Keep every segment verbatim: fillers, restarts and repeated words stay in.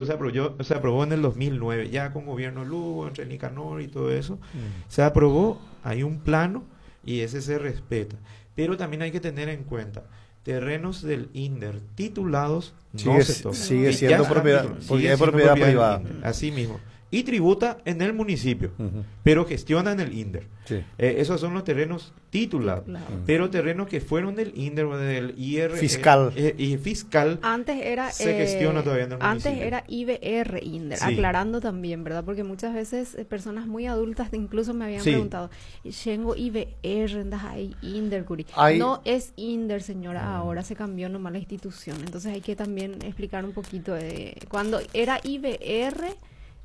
Se aprobó, se aprobó en el dos mil nueve, ya con gobierno Lugo, entre Nicanor y todo eso. Mm. Se aprobó, hay un plano y ese se respeta. Pero también hay que tener en cuenta, terrenos del INDER titulados no Sigue, se tocan. Sigue Y siendo ya están propiedad, titulados, porque sigue es siendo propiedad del privada. INDER, así mismo. Y tributa en el municipio, Ujú. Pero gestiona en el INDER. Sí. Eh, esos son los terrenos titulados. Titulados. Pero terrenos que fueron del INDER o del I R Fiscal. eh, y fiscal Antes era se gestiona todavía en el Antes municipio. Era I B R INDER, Sí. aclarando también, ¿verdad? Porque muchas veces eh, personas muy adultas incluso me habían Sí. preguntado, "Chéngo I B R, ahí INDER, kuri". Hay- No es INDER, señora, ahora se cambió nomás la institución. Entonces hay que también explicar un poquito de cuando era I B R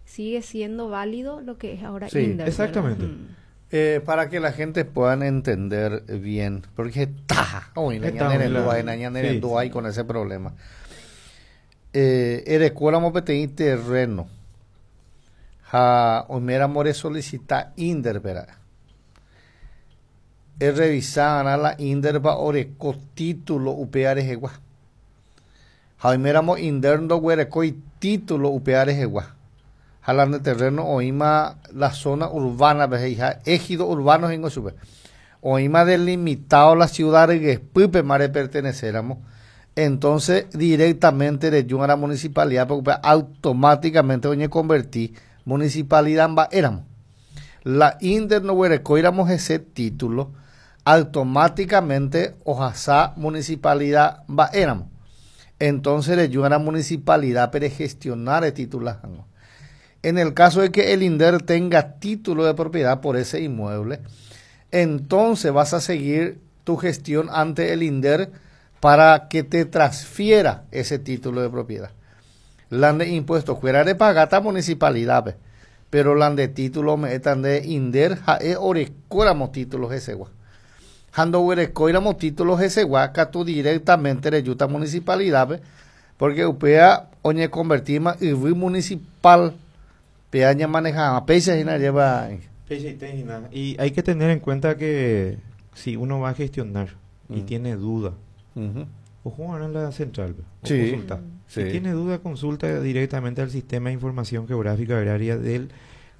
sigue siendo válido lo que es ahora Sí, INDER, ¿verdad? Exactamente. Mm. Eh, para que la gente pueda entender bien, porque está, hoy Está, la- sí. ahí con ese problema. Eh, erekóramo peteĩ terreno ha oiméramo resolicita INDER vera revisar la INDER pa oreko título upéva rehegua ha oiméramo INDER ndoguerekói título upéva rehegua ha la nde terreno oĩma la zona urbana pe he'iha ejido urbano he'ingo chupe oĩma delimitado la ciudad ryepýpema reperteneceramo, entonces directamente reju a la municipalidad porque automáticamente oñeconvertí municipalidad mba'éramo. La INDER ndoguerekóiramo ese título, automáticamente ohasa municipalidad mba'éramo. Entonces reju a la municipalidad para gestionar el título. En el caso de que el INDER tenga título de propiedad por ese inmueble, entonces vas a seguir tu gestión ante el INDER para que te transfiera ese título de propiedad. La de impuestos fuera de pagata municipalidad, pe. Pero la de título me están de INDER ha'e orekóramo títulos hesegua. Ha ndoguerekóiramo títulos hesegua, katu directamente rejúta municipalidad, pe, porque upéa oñeconvertima yvy municipal pe maneja péicha hína lleva. Y hay que tener en cuenta que si uno va a gestionar y Mm. tiene duda, Ujú. ojo en la central, o Sí, consulta. sí. Si tiene duda, consulta directamente al sistema de información geográfica agraria del,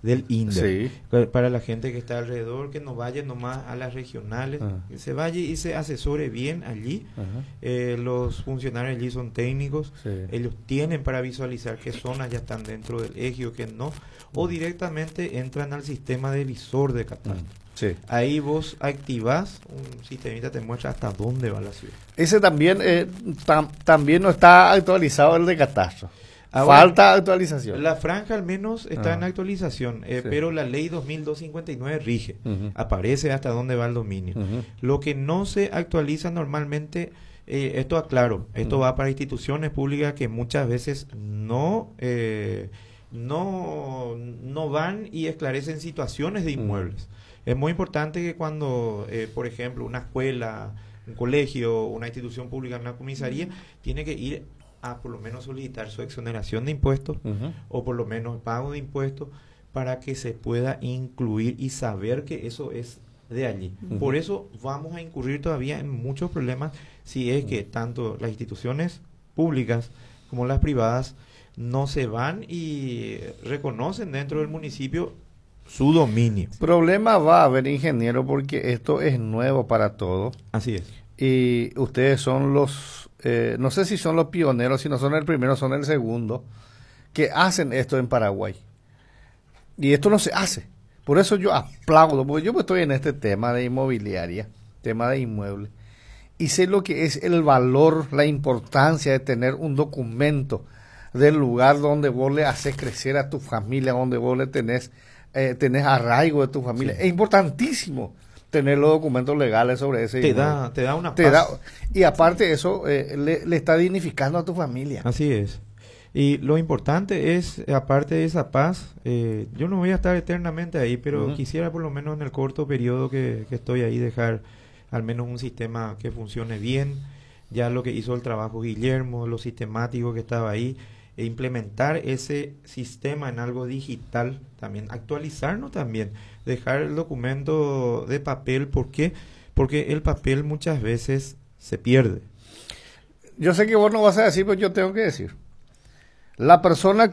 del INDER. Sí. Pa- Para la gente que está alrededor, que no vaya nomás a las regionales, Ajá. que se vaya y se asesore bien allí. Ajá. Eh, los funcionarios allí son técnicos, Sí. ellos tienen para visualizar qué zonas ya están dentro del ejido, qué no, o directamente entran al sistema de visor de catastro. Sí. Ahí vos activás, un sistemita te muestra hasta dónde va la ciudad. Ese también, eh, tam- también no está actualizado el de catastro. Ahora, Falta actualización. La franja al menos está Ah. en actualización, eh, Sí. pero la ley dos mil doscientos cincuenta y nueve rige. Ujú. Aparece hasta dónde va el dominio. Ujú. Lo que no se actualiza normalmente, eh, esto aclaro, esto Ujú. va para instituciones públicas que muchas veces no, eh, no, no van y esclarecen situaciones de Ujú. inmuebles. Es muy importante que cuando, eh, por ejemplo, una escuela, un colegio, una institución pública, una comisaría, tiene que ir a por lo menos solicitar su exoneración de impuestos Ujú. O por lo menos pago de impuestos para que se pueda incluir y saber que eso es de allí. Ujú. Por eso vamos a incurrir todavía en muchos problemas si es que tanto las instituciones públicas como las privadas no se van y reconocen dentro del municipio su dominio. Problema va a haber, ingeniero, porque esto es nuevo para todos. Así es. Y ustedes son los, eh, no sé si son los pioneros, si no son el primero, son el segundo, que hacen esto en Paraguay. Y esto no se hace. Por eso yo aplaudo, porque yo estoy en este tema de inmobiliaria, tema de inmuebles, y sé lo que es el valor, la importancia de tener un documento del lugar donde vos le haces crecer a tu familia, donde vos le tenés, eh, tenés arraigo de tu familia. Sí. Es importantísimo tener los documentos legales sobre ese Te inmueble. da, te da una Te paz. da, y aparte eso eh, le, le está dignificando a tu familia. Así es. Y lo importante es, aparte de esa paz, eh, yo no voy a estar eternamente ahí, pero Ujú. quisiera por lo menos en el corto periodo que, que estoy ahí dejar al menos un sistema que funcione bien. Ya lo que hizo el trabajo Guillermo, lo sistemático que estaba ahí, e implementar ese sistema en algo digital también, actualizarnos también, dejar el documento de papel. ¿Por qué? Porque el papel muchas veces se pierde. Yo sé que vos no vas a decir, pero yo tengo que decir. La persona